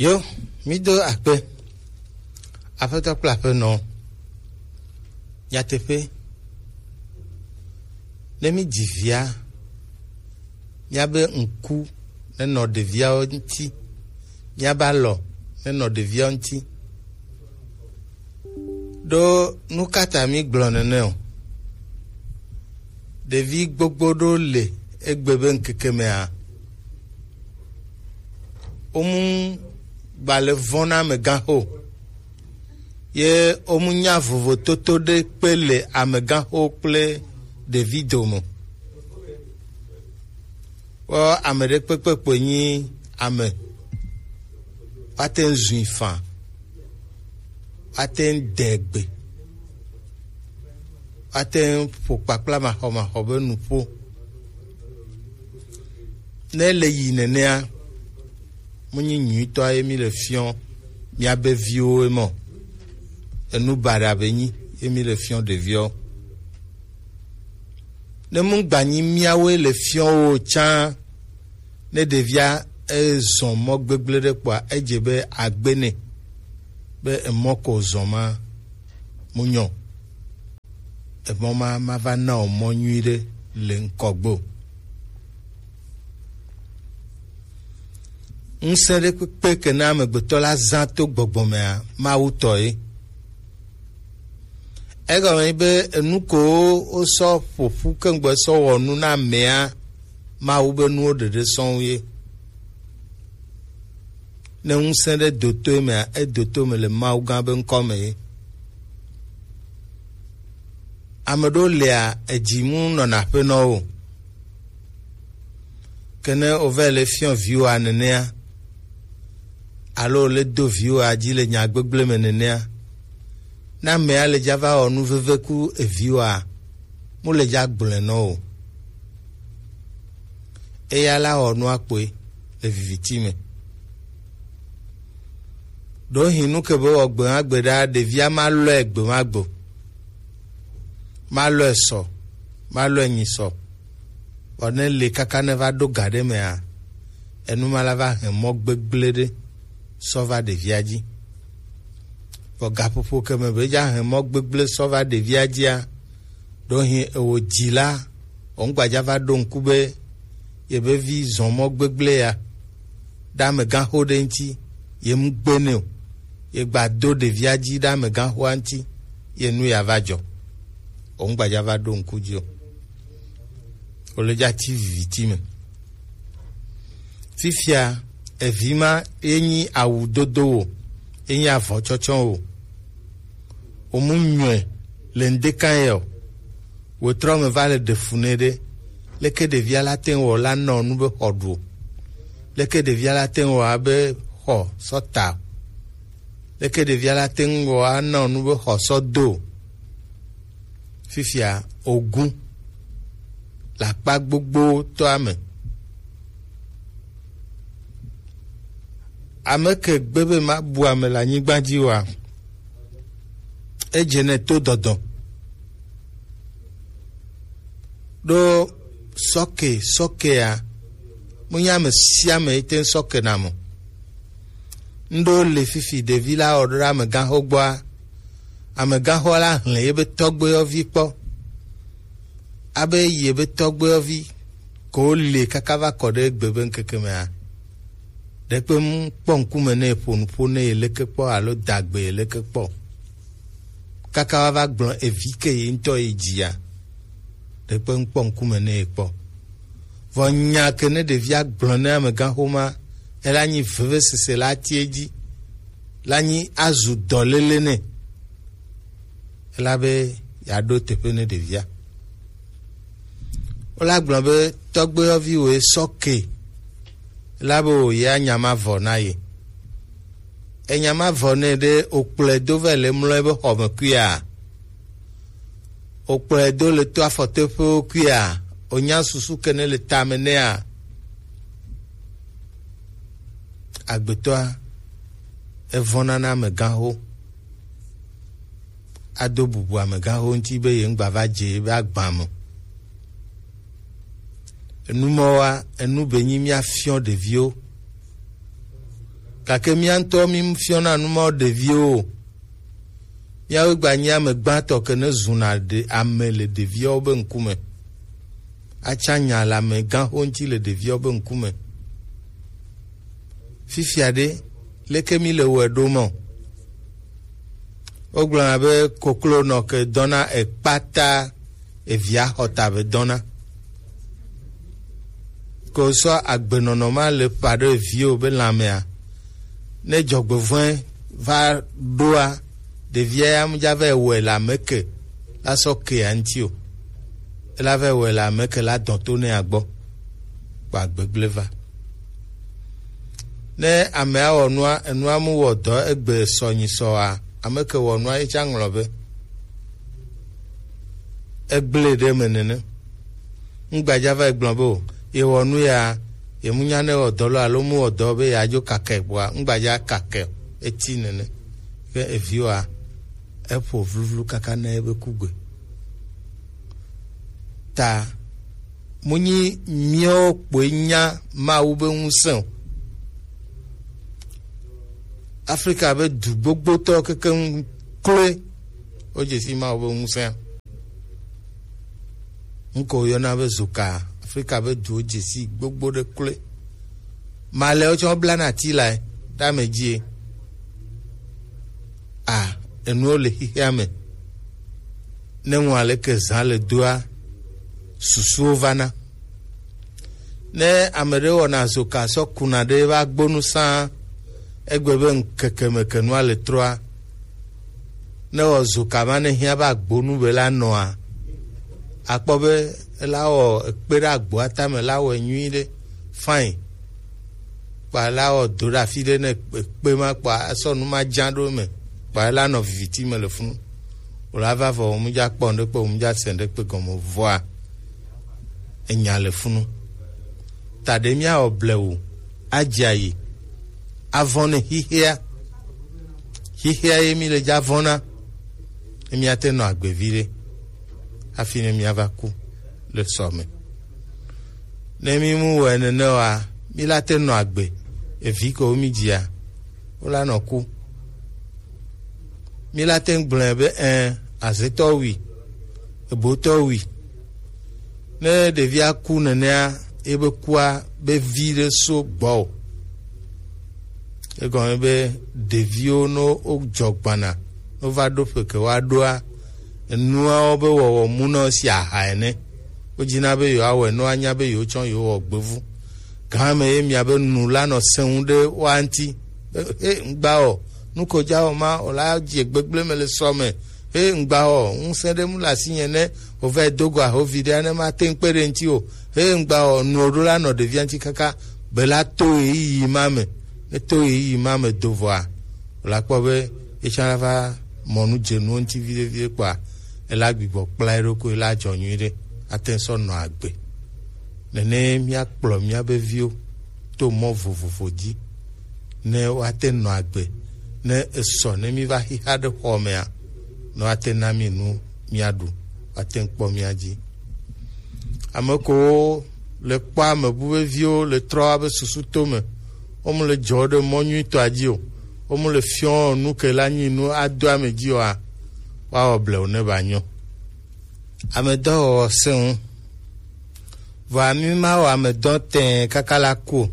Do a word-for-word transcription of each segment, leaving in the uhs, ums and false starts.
Yo, mí do akpe. Aƒetɔ kple aƒenɔ, nyateƒe, ne mí dzi via, míabe ŋku nenɔ ɖeviawo ŋuti, míabe alɔ nenɔ ɖeviawo ŋuti. Ɖo nu ka ta mí gblɔ nene o? Ɖevi gbogbo ɖo le egbe be ŋkeke mea, womu gbalẽ vɔ̃ na amegãxo, ye womu nya vovototo ɖe kpe le amegãxo kple ɖevi dome. Kpɔ ame ɖe kpekpe kpoe nyi ame. Woate ŋu zui faa. Woate ŋu de gbe. Woate ŋu ƒo kpakpla maxɔmaxɔ be nuƒo. Ne ele yi nenea, menyi nyuitɔa ye mi le fiɔ miabe viwo ye mɔ. Enu baɖa be nyi ye mi le fiɔ ɖeviwo. Ne mu gbanyi miawoe le fiɔ wo tsã, ne ɖevia ezɔ mɔ gbegblẽ ɖe kpɔa, edze be agbe nɛ be emɔ ko zɔ ma mu nyɔ. Emɔ ma ma va na o mɔ nyui ɖe le ŋkɔgbe o. Ŋusẽ ɖe kpekpe ke na amegbetɔ la zã to gbɔgbɔ mea, Mawu tɔ ye. Egɔme nyi be enu ko wosɔ ƒoƒu keŋgbɔ sɔ wɔ nu na amea, Mawu be nuwo ɖeɖe sɔŋ ye. Ne ŋusẽ ɖe do to emea, edo to me le Mawu gã be ŋkɔ me ye. Ame ɖewo lia, edzi mu nɔna aƒenɔwo. Ke ne wova le fiɔ viwoa nenea, alo le do viwoa dzi le nya gbegblẽ me nenea, ne amea le dza va wɔ nu veve ku eviwoa, mu le dza gblɔe nɔ o. Eya la wɔ nua kpoe le viviti me. Ɖewohĩ nu ke be wɔ gbe ma gbe ɖa, ɖevia ma lɔe gbe ma gbe o. Ma lɔe sɔ, ma lɔe nyi sɔ. Vɔ ne le kaka ne va ɖo ga ɖe mea, enu ma la va hɛn mɔ gbegblẽ ɖe sɔ va ɖevia dzi. Vɔ gaƒoƒo ke me be dza hɛn mɔ gbegblẽ sɔ va ɖevia dzia, ɖewohĩ ewo dzi la, wo ŋgbadza va ɖo ŋku be yebe vi zɔ mɔ gbegblẽ ya ɖe amegãxo ɖe ŋuti, ye mu gbe nɛ o, ye gba do ɖevia dzi ɖe amegãxoa ŋuti, ye nu ya va dzɔ. Wo ŋgbadza va ɖo ŋku dzi o. Wo le dza ti viviti me. Fifia, evi ma ye nyi awu dodo wo, ye nyi avɔ tsɔtsɔ wo. Wo mu nyɔe le ŋdeka ye o. Wo trɔ me va le ɖe fu nɛ ɖe. Leke ɖevia la te ŋu wɔ la nɔ nu be xɔ ɖu o? Leke ɖevia la te ŋu wɔ abe xɔ sɔ ta o? Leke ɖevia la te ŋu wɔ anɔ nu be xɔ sɔ do o? Fifia ogun le akpa gbogbo tɔa me. Ame ke gbe be mabu ame le anyigba dzi oa, edze nɛ to dɔdɔ. Ɖo sɔke, sɔkea, mu nya ame sia ame yi te ŋu sɔke na mo. Ŋɖo le fifi ɖevi la wɔ ɖo ɖe amegãxo gbɔa, amegãxo la hlẽ yebe tɔgbuiyɔvi kpɔ. Abe yebe tɔgbuiyɔvi ko le kaka va kɔ ɖe egbe be ŋkeke mea, ɖekpe mu kpɔ ŋkume ne ƒo nuƒo ne ye leke kpɔ alo da gbe ye leke kpɔ. Kaka wa va gblɔ evi ke ye ŋutɔ ye dzia, ɖekpe mu kpɔ ŋkume ne ye kpɔ. Vɔ nya ke ne ɖevia gblɔ ne amegãxoma, ela nyi vevesese la tie dzi, la nyi azu dɔléle nɛ. Elabe yeaɖo teƒe ne ɖevia. Wola gblɔ be tɔgbuiyɔvi woe sɔ ke, elabe wòye anya ma vɔ na ye. Enya ma vɔ nɛ ɖe wòkplɔe do va le mlɔ ebe xɔ me kuia? Wòkplɔe do le to afɔtoƒewo kuia? Wònya susu ke ne le tame nɛa? Agbetɔa, evɔ̃na na amegãxo. Ado bubu amegãxo ŋuti be ye ŋgba va dze ebe agba me. Enu mɔwoa, enu be nyi míafiɔ ɖeviwo. Gake mía ŋutɔ mífiɔna nu mawo ɖeviwo o. Míawoe gba nyi ame gbãtɔ ke ne zuna ɖe ame le ɖeviawo be ŋkume. Atsa nya le amegãxo ŋuti le ɖeviawo be ŋkume. Fifia ɖe, leke míle wɔe ɖo mɔ? Wogblɔna be koklonɔ ke dɔna ekpata evia xɔta be dɔna. Ko sɔ agbenɔnɔ ma le ƒa ɖe eviwo be lãmea. Ne dzɔgbevɔ̃e va ɖoa, ɖevia ya mu dza vɛ wɔe le ame ke la sɔ kea ŋuti o. Ela vɛ wɔe le ame ke la dɔn to ne agbɔ. Kpa gbegble va. Ne amea wɔ nua, enua mu wɔ dɔ egbe sɔ nyi sɔa, ame ke wɔ nua ye tsa ŋlɔ be. Egblẽ ɖe eme nene. Ŋgbadza va gblɔ be o, yewɔ nu ya, yemu nya ne wɔ dɔ lo alo mu wɔ dɔ be yeadzo kake gbɔa, ŋgbadza kake eti nene. Ke eviwoa, eƒo vluvlu kaka ne ebe kugbe. Ta munyi míawo kpoe nya Mawu be ŋusẽ o. Afrika be du gbogbotɔ kekeŋ kloe wodze si Mawu be ŋusẽa. Ŋkɔ woyɔna be zoka. Afrika be duwo dze si gbogbo ɖe kloe. Malɛwo tsɛ woblana ati lae ɖe ame dzie. A, enuwo le xixea me. Ne ŋu aleke zã le doa, susuwo vana. Ne ame ɖe wɔna zoka sɔ kuna ɖe eƒe agbonu sã, egbe be ŋkeke me ke nua le trɔa, ne wɔ zoka ma ne hiã be agbonu be la nɔa, akpɔ be ela wɔ ekpe ɖe agboa tame la wɔe nyuie ɖe. Fine. Kpa la wɔ do ɖe afi ɖe ne ekpe ma kpa esɔ nu ma dza ɖo me. Kpa ela nɔ viviti me le funu. Wòla va vɔ wòmu dza kpɔ ŋɖe kpe wòmu dza se ŋɖe kpe gɔme vɔa. Enya le funu. Ta ɖe míawɔ blewu, adze ayi, avɔ̃ ne xixea. Xixea ye mi le dza vɔ̃na. Ne míate nɔ agbe viɖe. Hafi ne míava ku le sɔ me. Ne mi mu wɔe nene oa, mi la te nɔ agbe. Evi ko mi dzia, wo la nɔ ku. Mi la te gblɔe be ɛ, azetɔ wui, ebotɔ wui. Ne ɖevia ku nenea, ebe kua be vi ɖe so gbɔ o. Egɔme be ɖeviwo no wo dzɔ gbana, no va ɖo ƒe ke wa ɖoa, enuawo be wɔwɔ mu na wo si aha ene. Wodina be yewoawɔe ne woanya be yewotsɔ yewowɔ gbevu. Gã me ye mia be nu la nɔ sẽŋu ɖe woa ŋuti. He ŋgba wɔ, nu ko dza wɔ ma, wòla dze gbegblẽ me le sɔ me. He ŋgba wɔ, ŋusẽ ɖe mu le asinye ne wòva do go ahovi ɖea, ne mate ŋu kpe ɖe ŋuti o. He ŋgba wɔ, nuwo ɖo la nɔ ɖevia ŋuti kaka be la to ɣeyiɣi ma me. Ne to ɣeyiɣi ma me do vɔa, wòla kpɔ be etsã la va mɔ nu dze nuwo ŋuti viɖe viɖe kpɔa, ela gbigbɔ kpla eɖokui, ela dzɔ nyuiɖe, ate ŋu sɔ nɔ agbe. Nene míakplɔ míabe viwo to mɔ vovovo dzi, ne woate nɔ agbe, ne esɔ ne míva xixa ɖe xɔ mea, ne woate na mí nu míaɖu, woate ŋu kpɔ mía dzi. Ame kowo le kpɔ ame bu be viwo le trɔ woabe susu to me, wo mu le dzɔ ɖe mɔ nyuitɔa dzi o, wo mu le fiɔ nu ke la nyi nu ado ame dzi oa, woawɔ blewu ne ba nyɔ. Amedɔwɔwɔ sẽ ŋu. Vɔa mí ma wɔ amedɔ tɛɛ kaka la ku o.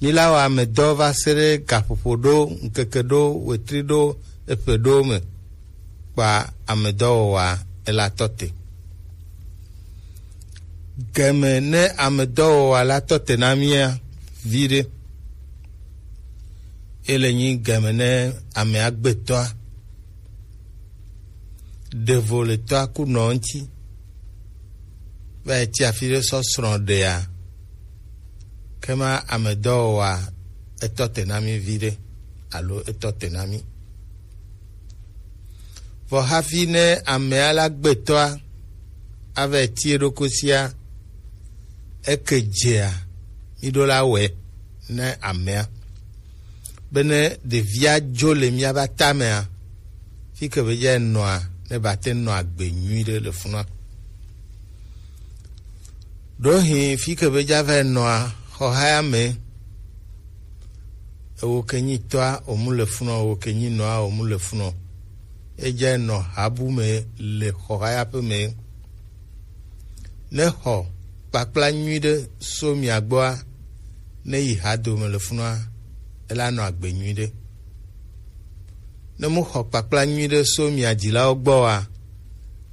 Mí la wɔ amedɔ va se ɖe gaƒoƒo ɖo, ŋkeke ɖo, wetri ɖo, eƒe ɖo me. Kpa amedɔwɔwɔa ela tɔ te. Gɛmɛ ne amedɔwɔwɔa la tɔ te na mía viɖe. Ele nyi gɛmɛ ne amea gbetɔa. Ɖevo le tɔa ku nɔ ŋuti. Va yi ti afi ɖe sɔ srɔ̃ ɖea. Ke ma amedɔwɔwɔa etɔ te na mí viɖe alo etɔ te na mí. Vɔ hafi ne amea la gbetɔa ava yi ti eɖokui sia, eke dzea, mí ɖo la wɔe ne amea. Bene ɖevia dzo le míabe atamea, fi ke be dza nɔa, ne ba te nɔ agbe nyui ɖe le funua. Ɖohi fi ke be dza va nɔa, xɔha ya me, Ewo ke nyi tɔa omu le funɔ, ewo ke nyi nɔa omu le funɔ. Edze nɔ habu me le xɔ haya ƒe me. Ne xɔ kpakpla nyui ɖe so mia gbɔa, ne yi ha dome le funɔa, ela nɔ agbe nyui ɖe. Ne mu xɔ kpakpla nyui ɖe so mia dzilawo gbɔa,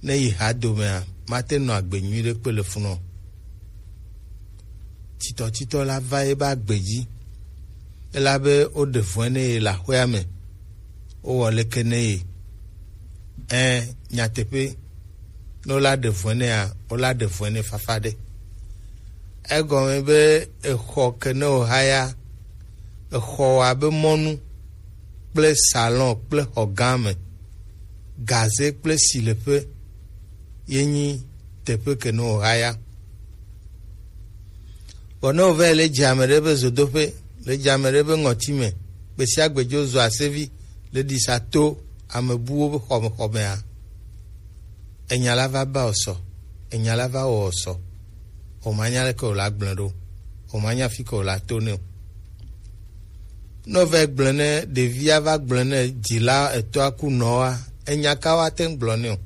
ne yi ha domea, mate nɔ agbe nyui ɖe kpe le funɔ. Titɔtitɔ la va ebe agbe dzi, elabe woɖe vɔ̃e ne ye le aƒea me, wowɔ leke ne ye. Ẽ, nyateƒe, ne wola ɖe vɔ̃e nea, wola ɖe vɔ̃e ne fafa ɖe. Egɔme be exɔ ke ne wòhaya, exɔ wɔ abe mɔnu kple salon kple xɔ gã me, gaze kple sileƒe ye nyi teƒe ke ne wòhaya. Vɔ ne wòva yi le dze ame ɖe be zodoƒe, le dze ame ɖe be ŋɔti me, gbe sia gbe dzo zɔ asevi le ɖisa to ame buwo be xɔmexɔmea, enya la va ba wò sɔ, enya la va wɔ wò sɔ, wòmanya leke wòla gblẽ ɖo, wòmanya fi ke wòla to nɛ o. Ne wòva yi gblẽ ne ɖevia va gblẽ ne dzila etɔa ku nɔa, enya ka woate ŋu gblɔ nɛ o.